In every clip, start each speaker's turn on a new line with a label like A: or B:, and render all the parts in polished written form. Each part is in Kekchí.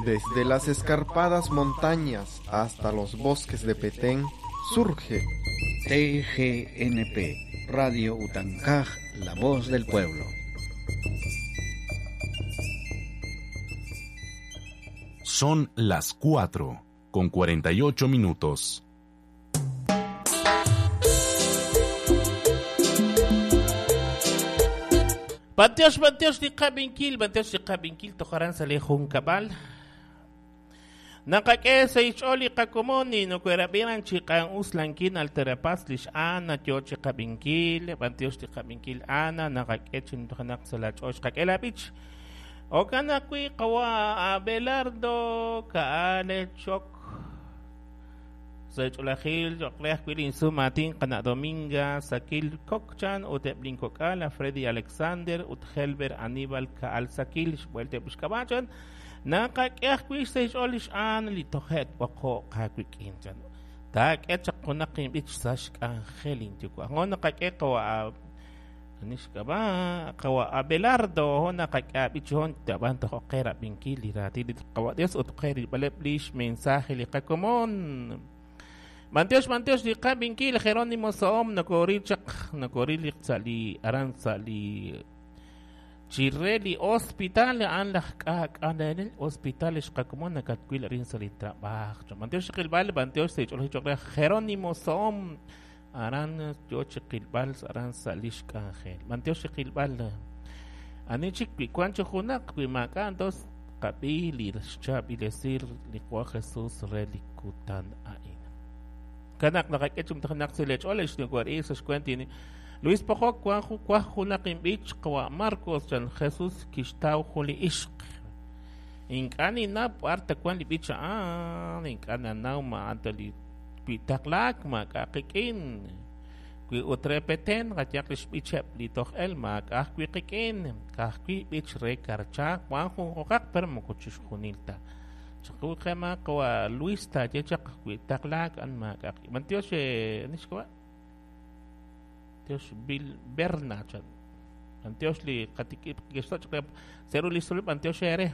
A: Desde las escarpadas montañas hasta los bosques de Petén surge
B: TGNP, Radio Utancaj, la voz del pueblo.
C: Son las 4:48 minutos.
D: Bantiox, bantiox li qabinkil, bantiox li qabinkil tojaran sa li junkab'al. Naqak'e sa ixch'ool li qakomon li nokoherab'iran chi q'an'us lankin alterapas lix Ana yo chi qabinkil, bantiox li qabinkil Ana naqak'e chi ntojanaq sa la ch'ool xqak'e la b'ich. Okan ajwi' qawa Abelardo Kaale Chok sa ch'oolajil cho'q re ajwi' linsum aatin qana' Dominga Sakil Kokchan ut eb' linkok'al Freddy Alexander ut Helber Aníbal Kaal Sakil xb'uelteb' xk'ab'a' chan naqak'e ajwi' sa xch'ool lix Aan li toje' tb'oqo' qawik'in chan taak'e chaq junaq inb'ich sa xk'anjel inyuwa' jo naqak'e qawa Nixk'ab'a qawa Abelardo ho naqak'e ab'ich hon tab'an toj oqe rab'inkil li raatin li qawa Dios ut qe rilb'aleb' lix mensaje li qakomon. Bantiox, bantiox li qab'inkil Jerónimo Soom nokoril chaq nokoril li sa' li aran sa' li chire li hospital a'an laj k'aak'alenel hospital xqakomon nakatwil arin sa' li trab'aj. Bantiox qilb'al bantiox sa' ch'oolej choq re Jerónimo Soom aran yo chi qilb'al aran sa' lix k'anjel. Bantiox chi qilb'al ani chik wi wan chi junaq wi maak'a' entonces qab'i li xchaab'ilesir li Qwa Jesús re li kutan a'in. Kanaq naqak'e chi mtajanaq sa' lech'ool ex nuwari sa' xkuentin Luis Pojok wan waj junaq inb'ich qawa Marcos chan Jesús kixtaw jun li ixq. Ink'a' ninnaw b'ar ta wan li b'ich a'an, ink'a' nanaw ma a'an ta li wi taqlaak maak'a' qik'in. Wi ut re Petén qayaq li xb'icheb' li toj el maak'a' ajwi' qik'in, ka'ajwi' b'ich re Karcha wan junjunqaq pero moko chixjunil ta. Chaq wi qema qawa Luis taaye chaq wi taqlaak an maak'a' qik'in. Bantiox nixk'ab'a' Tiox Bill Berna chan. Bantiox li qatik'ib' kixso' chaq re seru li sulub' bantiox ere.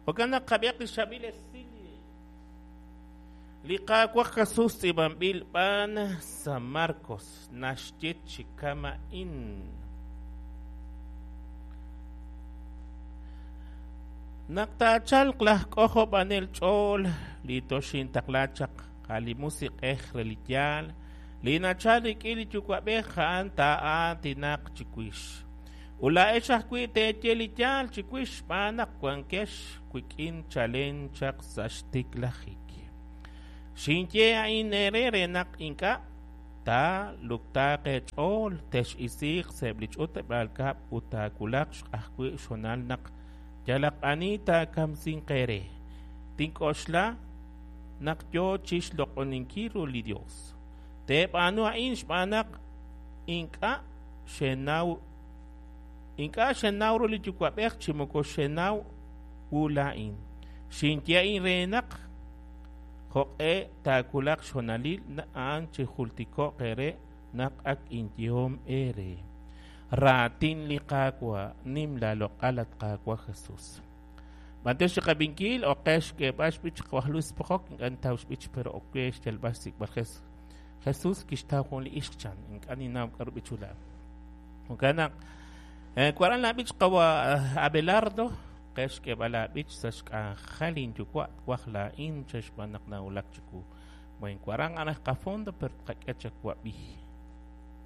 D: Jo'kan naq qab'iaq li xchaab'il esil li Qaawa' Jesús tz'iib'anb'il b'an sa Marcos naxye chi kama'in. Naq taachalq laj k'ojob'anel ch'ool li toxintaqla chaq a' li Musiq'ej re li yaal li nachal rik'in li Yuwa'b'ej a'an taa'aatinaq chiwix. Ut laa'ex ajwi' teeye li yaal chiwix xb'aan naq wankex wik'in chalen chaq sa' xtiklajik. Xinye a'in eere re naq ink'a' taaluktaaq eech'ool, tex'isiiq sa'eb' li ch'utleb'aal kab'l ut taawulaq ajwi' xhoonal naq yalaq ani taakamsinq eere. Tink'oxla naq yo chi xloq'oninkil ru li Yos. Teeb'aanu a'in xb'aan naq ink'a' xenaw ink'a' xenaw ru li Yuwa'b'ej chi moko xenaw wu laa'in. Xinye a'in re naq jo'q'e taawulaq xhoonalil a'an chijultiko'q eere naq ak inyehom eere. Raatin li Qaawa', nim laaloq'al at Qaawa' Jesús. Bantiox li qab'inkil oqe xk'eeb'al xb'ich qawaj Luis Pojok ink'a' nintaw xb'ich pero oke xyalb'al xsik'b'al Jesús kixtaw jun li ixq chan ink'a' ninnaw k'aru b'ichula. Jo'kan naq waran laab'ich qawa Abelardo qe xk'eeb'al laab'ich sa' xk'anjel inyuwa' twaj laa'in che xb'aan naq nawulak chiwu. Buen waran anaj qafondo pero tqak'e chawab'i.